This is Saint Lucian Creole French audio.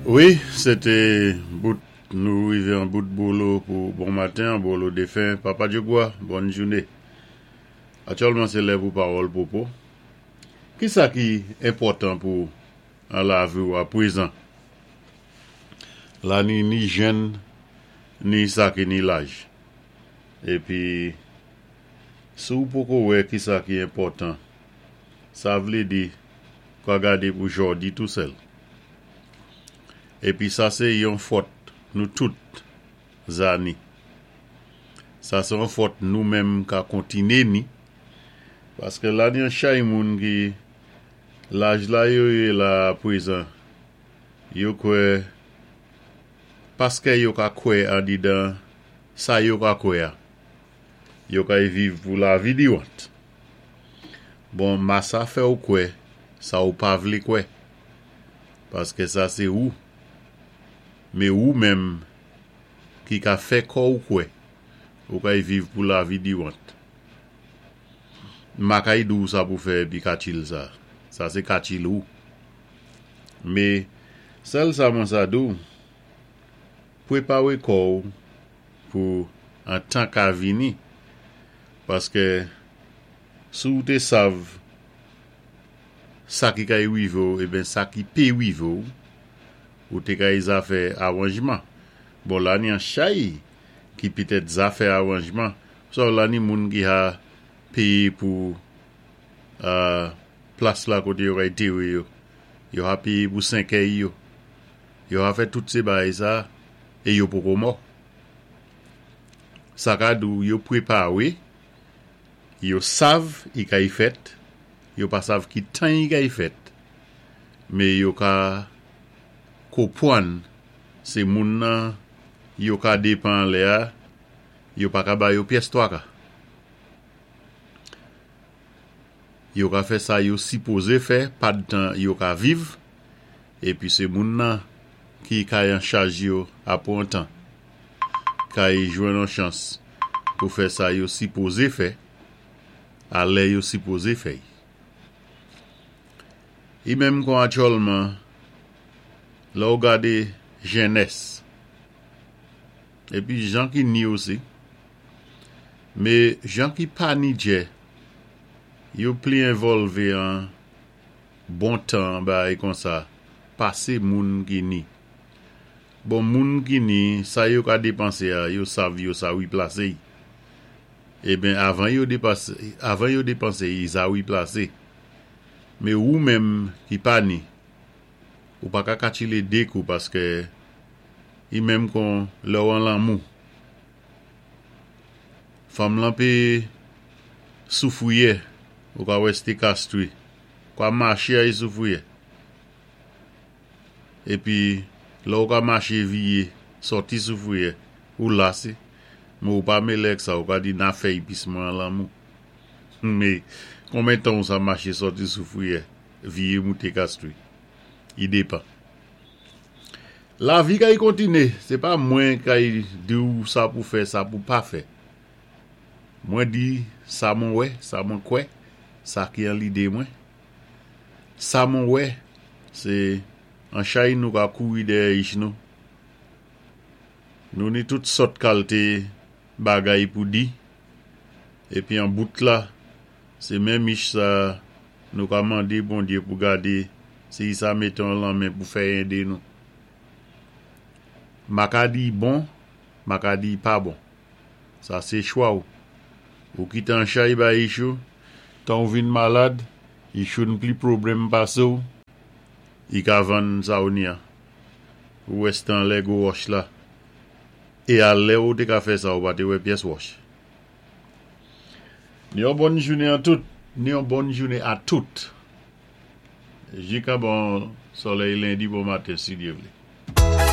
Wi, sé té bout nou rivé an bout bolo pou bon maten an, bolo défen Papa Djogwa, bòn jouné. Aktyèlman sé lè pou pawòl pwopo. Kisa ki enpòtan pou an lavi ou aprezan? La ni ni jèn ni sa ki ni laj. Épi si ou poko wè kisa ki enpòtan, sa vlé di ka gadé pou jòdi tou sèl. Épi sa sé yon fòt nou tout za ni. Sa sé yon fòt nou menm ka kontiné ni, paské la ni yon chay moun ki laj la yo yé la aprezan, yo kwè paskè yo ka kwè andidan sa yo ka kwè a, yo kay viv pou lavi diwant. Bon, masa fè ou kwè sa ou pa vlé kwè. Paskè sa sé ou. Mé ou menm ki ka fè kò ou kwè ou kay viv pou lavi diwant. M pa kay di w sa pou fè épi katchil sa. Sa sé katchil ou. Mé sèl sa mwen sa di w, pwépawé kò ou pou an tan ka vini. Paskè si w té sav sa ki kay rive w eben sa ki pe rive w, ou té kay zafè awanjman. Bon la ni an chay ki pitèt zafè awanjman, ou sav la ni moun ki ha péyé pou plas la koté yo kay tere yo, yo ha péyé pou sèkèy yo, yo ha fè tout sé bagay sa é yo poko mò. Sa ka di w yo pwépawe. Yo sav i kay fèt, yo pa sav ki tan i kay fèt, mé yo ka kopwann sé moun nan yo ka dépan anlè a, yo pa ka ba yo pyès twaka. Yo ka fè sa yo sipozé fè padtan yo ka viv, épi sé moun nan ki kay an chaj yo apwé on tan. Kay jwenn on chans pou fè sa yo sipoze fè a lè yo sipoze fè y. I menm kon atyòlman lè ou gade jennès epi jan ki ni osi me jan ki pa ni djè yo pli envòlve an bon tan bagay konsa pase moun ki ni. Bon moun ki ni sa yo ka depanse a yo sav yo sa wiplase y eben avan yo depase avan yo depanse y sa wiplase me wou menm ki pa ni ou pa ka katchile de kou paske y menm kon lè w an lanmou fanm lan pe soufriyè ou ka wè ste kastri kwa mache a y soufriyè. Epi lè ou ka mache viye sòti sou friyè ou lase men ou pa mele ak sa ou ka di na fèy pis mwen an lanmou me konben tan ou sa mache sòti sou friyè viye moute kastri i depan lavi kay kontine se pa mwen kay di ou sa pou fè sa pou pa fè mwen di sa mwen wè sa mwen kwè sa ki an lide mwen. Sa mwen wè, sé an chay nou ka kouri dèyè ich nou. Nou ni tout sòt kalté bagay pou di, épi an bout la, sé menm ich sa nou ka mandé Bondyé pou gadé si i sa mété on lanmen pou fè édé nou. Ma ka di i bon, ma ka di i pa bon. Sa sé chwa ou. Ou kité an chay bay ich ou, tan ou vin malad, ich ou n pli pwoblèm pasé w, i ka vann sa ou ni an. Ou wè stan lè gwo wòch la. E a lè ou té ka fè sa ou pa té wè pyès wòch. Ni yon bòn jounen an tout. Ni yon bòn jounen a tout. Jikan bon solèy lendi bon maten si Dye vlé.